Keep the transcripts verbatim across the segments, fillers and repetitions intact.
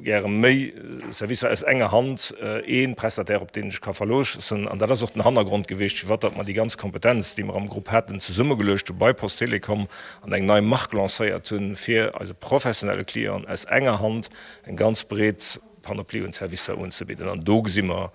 gäre méi Servicer aus enger Hand, ee Prestataire, op deen ech ka verloossen. An dat ass och den Hannergrond gewiescht, firwat datt mer déi ganz Kompetenz, déi mer am Grupp haten, zesummegeluecht hu bei Post Telecom an eng nei Mark lancéiert hunn, fir eise professionelle Clienten aus enger Hand eng ganz breet Panoplie un Servicer unzebidden. An do gesi mer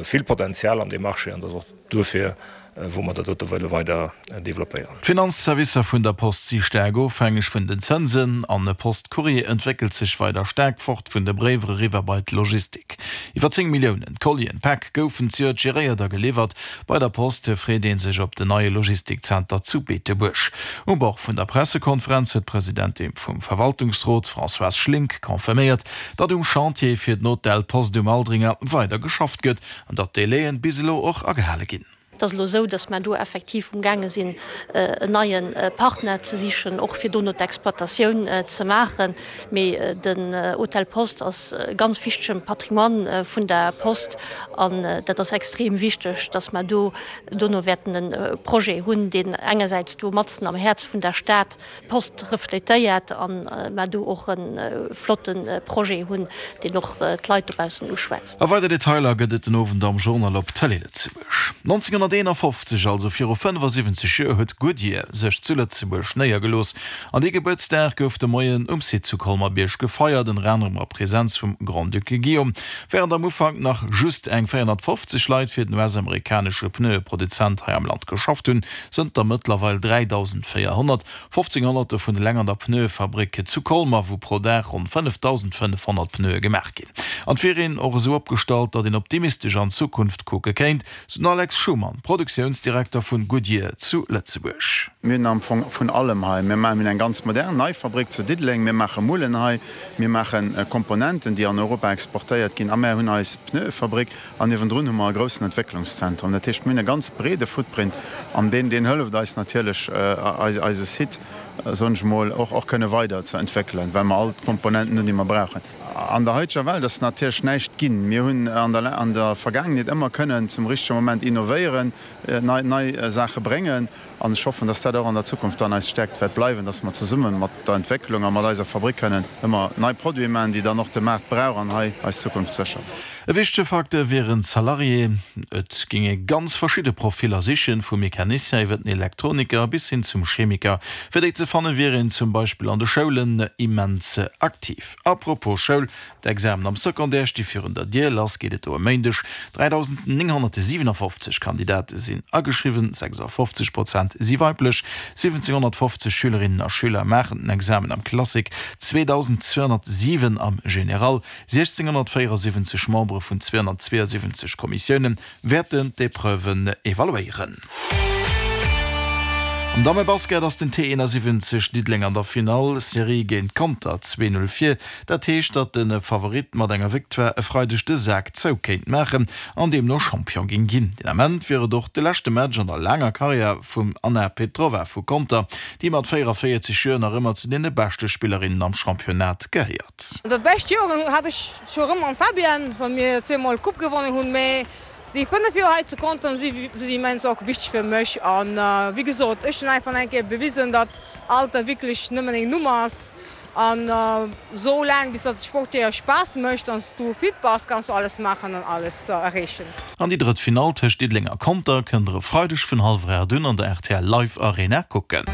vill Potenzial an deem Marché an dat ass och duerfir, wou mer dat dote wëlle weider developpéieren. D'Finanzservicer vun der Post si staark ofhängeg vun den Zënsen an Post Courrier entwéckelt sech weider staark fort vun de Bréiwer eriwwer bei d'Logistik. Iwwer zéng Milliounen Collien, Päck goufen zejoert geréiert a geliwwert. Bei der Post freet ee sech op den neie Logistikzenter zu Beetebuerg. Um Bord vun der Pressekonferenz huet d'Presidentin vum Verwaltungsrot Françoise Schlink confirméiert, datt um Chantier fir den Hotel Post um Aldringer weider geschafft gëtt an datt d'Délaien bis elo och agehale ginn. Et ass elo esou, datt mer do effektiv umgaange sinn, en neie Partner ze sichen, och fir dono d'Exploitatioun ze maachen. Mee den Hotel Post ass e ganz wichtege Patrimoine vun der Post an dat ass extrem wichteg, datt mer do dono wäerten e Projet hunn, deen engersäits do matzen am Häerz vun der Stad d'Post refletéiert an mer do och e flotte Projet hunn, deen och d'Leit dobaussen uschwätzt. A weider Detailer gëtt et den Owend am Journal op Tëlee Lëtzebuerg. nonzénghonnerteenafofzeg, also viru fënnefasiwwenzeg Joer, huet Goodyear sech zu Lëtzebuerg néiergelooss. An dee Gebuertsdag gouf de Moien um Site zu Colmer-Bierg gefeiert, ënner anerem a Presenz vum Grand-Duc Guillaume. Wärend am Ufank nach just eng véierhonnertfofzeg Leit fir den U S-amerikanesche Pneueproduzent hei am Land geschafft hunn, sënn der mëttlerweil dräidausendvéierhonnert. fofzénghonnert dovun eleng an der Pneuefabrik zu Colmer, wou pro Dag ronn fënnefdausendfënnefhonnert Pneue gemaach ginn. An et wier een och esou opgestallt, datt een optimistesch an d'Zukunft kucke kéint, sou den Alex Schumann, Produktiounsdirekter vun Goodyear zu Lëtzebuerg. Mir hunn am Fong vun allem hei. Mir maachen, mir hunn eng ganz modern nei Fabrik zu Diddeleng, mir maache Mullen hei, mir maache Komponenten, déi an Europa exportéiert ginn a mär hunn eis Pneuefabrik an niewendrun hu mer e groussen Entwécklungszentrum. Dat heescht, mir hunn e ganz breede Footprint an deen, deen hëlleft eis natierlech, eise Site, soen ech emol, och, och kënne weider ze entwéckelen, well mer all d'Komponenten hunn, déi mer brauchen. An der haiteger Welt ass natierlech näischt ginn. Mir hunn an der, an der Vergaangenheet ëmmer kënnen zum richtege Moment innovéieren, nei, nei Saache bréngen. An ech hoffen, dass dat och an der Zukunft dann eis Stärkt wäert bleiwen, dass mer zesumme mat der Entwécklung a mat eiser Fabrik kënnen ëmmer nei Produite maachen, déi dann och de Maart brauch an hei eis Zukunft séchert. E wichtege Facteur wieren d'Salariéen. Et géing ee ganz verschidde Profiller sichen, vum Mecanicien iwwer den Elektroniker bis hin zum Chemiker. Fir déi ze fanne wier een zum Beispill an de Schoulen immens aktiv. A propos Schoul, D'Examen am Secondaire sti virun der Dier. Lass geet et do e Méindeg. dräidausendnénghonnertsiwenafofzeg Kandidate sinn ageschriwwen, sechsafofzeg Prozent si weiblech. Siwwenzénghonnertfofzeg Schülerinnen a Schüler maachen den Examen am Classique, zweedausendzweehonnertsiwen am Général. siechzénghonnertvéierasiwwenzeg Membere vun zweehonnertzweeasiwwenzeg Kommissioune wäerten d'Epreuven evaluéieren. Am Dammebasket ass den T eenasiwwenzeg Diddeleng an der Finall Serie géint Conter zwee Null vir. Dat heescht, datt de Favorit mat enger Victoire e Freideg de Sak zou kéint maachen an deemno Champion géing ginn. Deen Ament wier et och de leschte Match an der laanger Karriär vum Anna Petrova vu Conter, déi mat véierunvéierzeg Joer nach ëmmer zu deene beschte Spillerinnen am Championnat gehéiert. Dat bescht Joer hat ech scho rëm mam Fabian, wann mir zweemol d'Coupe gewonnen hunn, mee déi fënnef Joer hei zu Conter si si immens och wichteg fir mech an wéi gesot, ech hunn einfach eng Kéier bewisen, datt Alter wierklech nëmmen eng Nummer ass an esou laang bis datt Sport dir Spaass mécht an s du fit bass, kanns du alles maachen an alles erreechen. An déi drëtt Finall tëscht Diddeleng a Conter kënnt der e Freideg vun hallwer aacht un an der rtl Live Arena kucken.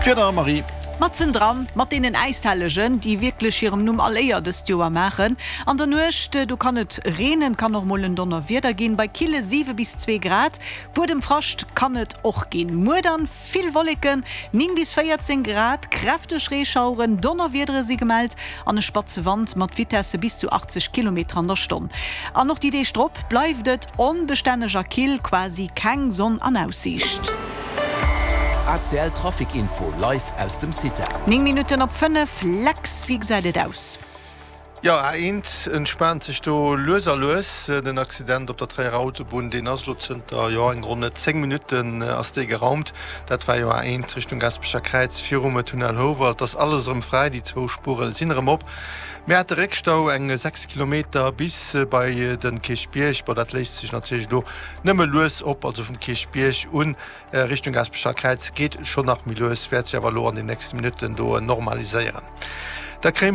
D'Wieder, Marie. Matzen dran, mat deenen Äishellegen, déi wierklech hirem Numm all Éier dëst Joer maachen. An der Nuecht, do kann et reenen, kann och mol en Donnerwieder ginn, bei kille siwe bis zwee Grad. Buedemfrascht kann et och ginn. Muer dann vill Wolleken, néng bis véierzéng Grad, kräfteg Reeschaueren, Donnerwiedere si gemellt an e spatze Wand mat Vitesse bis zu achtzeg Kilometer an der Stonn. An och déi Deeg drop bleift et onbestänneg a kill, quasi keng Sonn an Aussiicht. A C L Trafic Info live aus dem CITA. Néng Minutten op fënnef, Lex, wéi gesäit et aus? Jo, A eent entspaant sech do lues a lues. Den Accident op der Tréierer Autobunn, deen ass elo zënter, jo, eng ronn zéng Minutten ass dee geraumt. Dat war jo A eent Richtung Gaspecher Kräiz virum Tunnel Houwald. Ass alles erëm fräi, déi zwou Spuere sinn erëm op. Mir hate Réckstau, eng sechs Kilometer bis bei de Kierchbierg. Bon, dat léist sech natierlech elo nëmme lues op, also vum Kierchbierg un Richtung Gaspecher Kräiz geet schonn nach méi lues, wäert sech awer elo an den nächste Minutten do normaliséieren. Da kréie.